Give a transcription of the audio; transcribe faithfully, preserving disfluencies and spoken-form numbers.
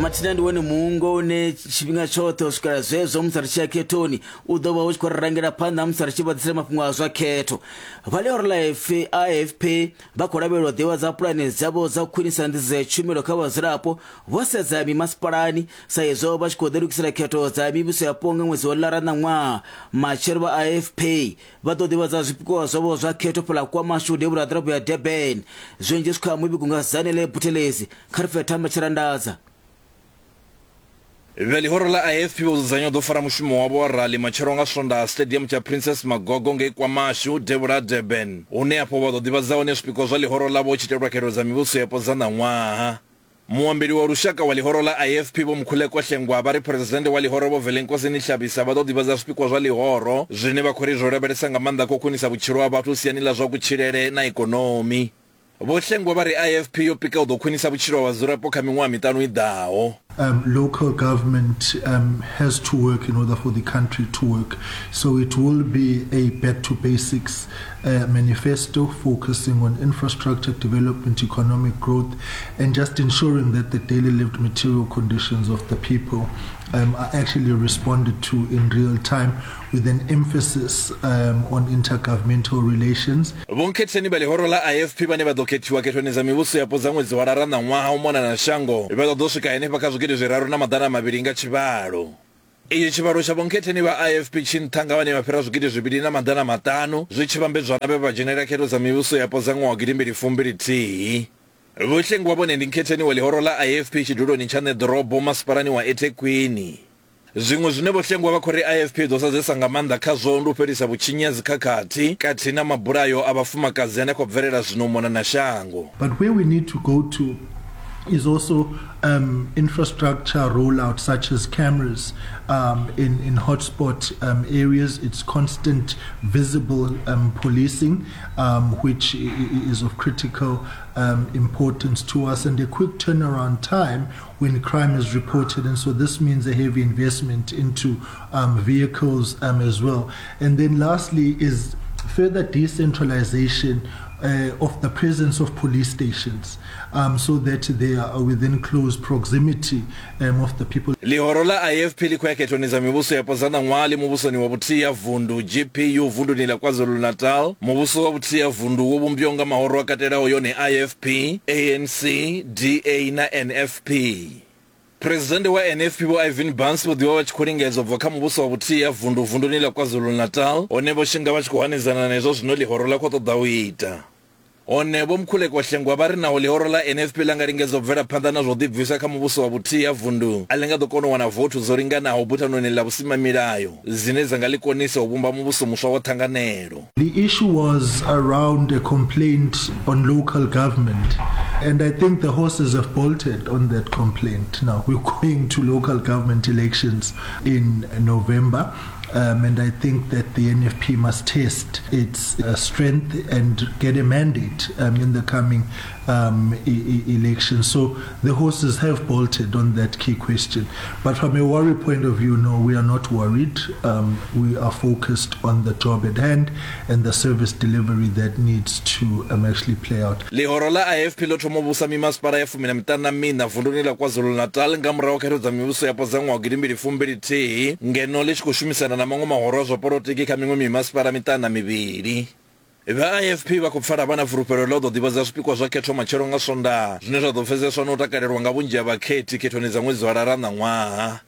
Mathina ndi wone muungo une tshifhinga tshoṱhe u swikela zwezwo musi ri tshi ya khethoni u ḓo vha u tshi khou ri rangela phanḓa musi ri tshi vha ḓisela mafhungo a zwa khetho. Vha ḽihoro ḽa A F P vha khou lavhelelwa ḓivhadza pulane dzavho dza u khwinisa nḓisedzo ya tshumelo kha vhadzulapo vho sedza mimasipalani, sa izwo vha tshi khou ḓilugisela khetho dza mivhuso yapo nga ṅwedzi wa Lara ṋaṅwaha. Matshelo vha A F P vha ḓo ḓivhadza zwipikwa zwavho zwa khetho fhaḽa KwaMashu, devhula ha ḓorobo ya Durban. Zwinzhi zwi kha muvhigo nga Zanele Buthelezi. Kha ri pfe Thamba Tshirandadza. Vha ḽihoro ḽa A F P vho dzudzanya u ḓo fara mushumo wavho wa rali matshelo nga Swondaha Stadium tsha Princess Magogo ngei KwaMashu, devhula ha Durban, hune afho vha ḓo ḓivhadza hone zwipikwa zwa ḽihoro ḽavho hu tshi itelwa khetho dza mivhuso yapo dza ṋaṅwaha. Muambeli wa lushaka wa ḽihoro ḽa A F P Vho Mkhuleko Hlengwa vha ri phuresidennde wa ḽihoro Vho Velenkosini Hlabisa vha ḓo ḓivhadza zwipikwa zwa ḽihoro zwine vha khou ri zwo lavhelesa nga maanḓa kha u khwinisa vhutshilo ha vhathu siani ḽa zwa kutshilele na ikonomi. Vho Hlengwa vha ri A F P yo pika u ḓo khwinisa vhutshilo ha vhadzulapo kha miṅwaha miṱanu i ḓaho. Um, local government um, has to work in order for the country to work. So it will be a back to basics uh, manifesto focusing on infrastructure development, economic growth, and just ensuring that the daily lived material conditions of the people um, are actually responded to in real time, with an emphasis um, on intergovernmental relations. Vho nkhetheni vha ḽihoro ḽa A F P vhane vha ḓo khethiwa khethoni dza mivhuso yapo dza ṅwedzi wa Lara ṋaṅwaha u mona na shango vha ḓo ḓo swika henefha kha zwigidi zwiraru na maḓana mavhili nga tshivhalo. Itshi tshivhalo tsha vhonkhetheni vha A F P tshi nṱha nga vhane vha fhira zwigidi zwivhili na maḓana maṱanu zwi tshi vhambedzwa na vhe vha dzhenela khetho dza mivhuso yapo dza ṅwaha wa gidimbili fumbili thihi. Vho Hlengwa vhone ndi nkhetheni wa ḽihoro ḽa A F P tshiduloni tsha ṋeḓorobo masipalani wa eThekwini. Zwiṅwe zwine Vho Hlengwa vha khou ri A F P i ḓo sedzesa nga maanḓa khazwo ndi u fhelisa vhutshinyi ha dzikhakhathi kathihi na mabulayo a vhafumakadzi ane a khou bvelela zwino u mona na shango. But where we need to go to is also um, infrastructure rollout, such as cameras um, in, in hotspot um, areas. It's constant visible um, policing, um, which is of critical um, importance to us, and a quick turnaround time when crime is reported. And so this means a heavy investment into um, vehicles um, as well. And then lastly is further decentralization uh, of the presence of police stations um, so that they are within close proximity um, of the people. Ḽihoro ḽa A F P ḽi khou ya khethoni dza mivhuso yapo dza ṋaṅwaha ḽi muvhusoni wa vhuthihi ha vundu, G P U, vunduni ḽa KwaZulu-Natal. Muvhuso wa vhuthihi ha vundu wo vhumbiwaho nga mahoro a katelaho yone A F P, A N C, D A na N F P. Phuresidennde wa N F P Vho Ivan Barnes vho ḓivha vha tshi khou lingedza u bva kha muvhuso wa vhuthihi ha vundu vunduni ḽa KwaZulu-Natal, hone vho shinga vha tshi khou hanedzana na izwo zwino ḽihoro ḽa khou ṱoḓa u ita. Hone Vho Mkhuleko Hlengwa vha ri naho ḽihoro ḽa N F P ḽa nga lingedza u bvela phanḓa na zwo ḓibvisa kha muvhuso wa vhuthihi ha vundu, a ḽi nga ḓo kona u wana vothu dzo linganaho buthanoni ḽa vhusimamilayo dzine dza nga ḽi konisa u vhumba muvhuso muswa wa ṱhanganelo. The issue was around a complaint on local government, and I think the horses have bolted on that complaint. Now we're going to local government elections in November. Um, and I think that the N F P must test its uh, strength and get a mandate um, in the coming um, e- e- election. So the horses have bolted on that key question. But from a worry point of view, no, we are not worried. Um, we are focused on the job at hand and the service delivery that needs to um, actually play out. Ḽihoro ḽa A F P ḽo thoma u vhusa mimasipala ya fumi na miṱanu na miṋa vunduni ḽa KwaZulu-Natal nga murahu khetho dza mivhuso yapo dza ṅwaha wa gidimbili fumbili thihi, ngeno ḽi tshi khou shumisana na maṅwe mahoro a zwa polotiki kha miṅwe mimasipala miṱanu na mivhili. Vha A F P vha khou pfala vha na fulufhelo ḽa u ḓo ḓivhadza zwipikwa zwa khetho matshelo nga Swondaha zwine zwa ḓo pfeseswa na u takalelwa nga vhunzhi ha vhakhethi khethoni dza ṅwedzi wa Lara ṋaṅwaha.